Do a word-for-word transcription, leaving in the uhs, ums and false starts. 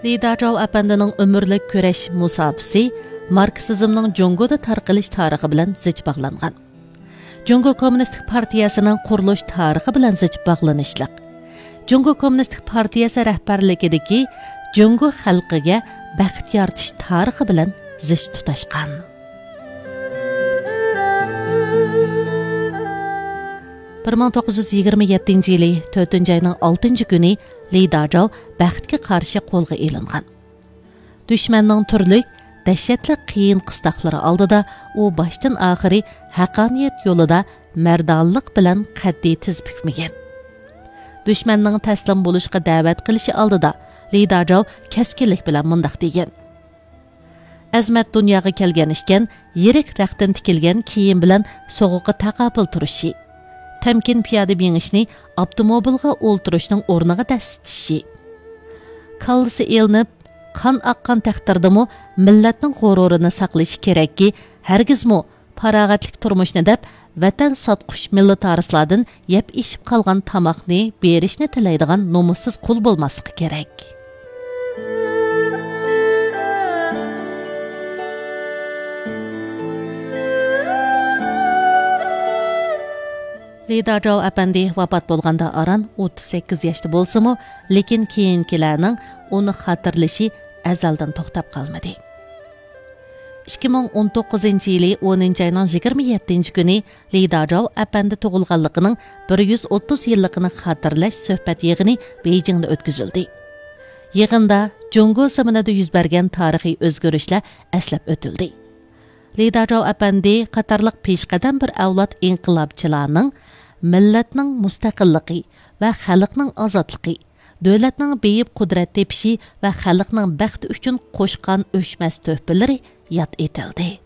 لى داجاۋ ئەپەندىنىڭ ئۆمۈرلۈك كۈرەش مۇساپىسى ماركسىزمنىڭ جۇڭگودا تارقىلىش تارىخى بىلەن زىچ باغلانغان. جۇڭگو كوممۇنىستىك پارتىيەسىنىڭ قۇرۇلۇش تارىخى بىلەن زىچ باغلىنىشلىق. جۇڭگو كوممۇنىستىك پارتىيەسى رەھبەرلىكىدىكى جۇڭگو خەلقىگە بەخت يارىتىش تارىخى بىلەن زىچ تۇتاشقان. بىر مىڭ توققۇز يۈز يىگىرمە يەتتىنچى يىلى تۆتىنچى ئاينىڭ ئالتىنچى كۈنى لى داجاۋ بەختكە قارشى قولغا ئېلىنغان. دۈشمەننىڭ تۈرلۈك، دەھشەتلىك قىيىن قىستاقلىرى ئالدىدا ئۇ باشتىن ئاخىرى ھەققانىيەت يولىدا مەردانىلىق بىلەن قەتئىي تىز پۈكمىگەن. دۈشمەننىڭ تەسلىم بولۇشقا دەۋەت قىلىشى ئالدىدا لى داجاۋ كەسكىنلىك بىلەن مۇنداق دېگەن: ئەزمەت دۇنياغا كەلگەن ئىكەن، يىرىك رەختتىن تىكىلگەن كىيىم بىلەن سوغۇققا تاقابىل تۇرۇشى، تەمكىن پىيادە مېڭىشنى ئاپتوموبىلغا ئولتۇرۇشنىڭ ئورنىغا دەسسىتىشى. كاللىسى ئېلىنىپ، قان ئاققان تەقدىردىمۇ مىللەتنىڭ غۇرۇرىنى ساقلىشى كېرەككى، ھەرگىزمۇ پاراغەتلىك تۇرمۇشنى دەپ، ۋەتەن ساتقۇچ مىللىتارىسلاردىن يەپ ئېشىپ قالغان تاماقنى بېرىشنى تىلەيدىغان نومۇسسىز قۇل بولماسلىقى كېرەك. لى داجاۋ ئەپەندى ۋاپات بولغاندا ئاران ئوتتۇز سەككىز ياشتا بولسىمۇ، لېكىن كېيىنكىلەرنىڭ ئۇنى خاتىرىلىشى ئەزەلدىن توختاپ قالمىدى. ئىككى مىڭ ئون توققۇزىنچى يىلى ئونىنچى ئاينىڭ يىگىرمە يەتتىنچى كۈنى لى داجاۋ ئەپەندى تۇغۇلغانلىقىنىڭ بىر يۈز ئوتتۇز يىللىقىنى خاتىرىلەش سۆھبەت يىغىنى بېيجىڭدا ئۆتكۈزۈلدى. يىغىندا جۇڭگو زېمىنىدا يۈز بەرگەن تارىخىي ئۆزگىرىشلەر ئەسلەپ ئۆتۈلدى. لى داجاۋ ئەپەندى قاتارلىق پېشقەدەم بىر ئەۋلاد ئىنقىلابچىلارنىڭ مىللەتنىڭ مۇستەقىللىقى ۋە خەلقنىڭ ئازادلىقى، دۆلەتنىڭ بېيىپ قۇدرەت تېپىشى ۋە خەلقنىڭ بەختى ئۈچۈن قوشقان ئۆچمەس تۆھپىلىرى ياد ئېتىلدى.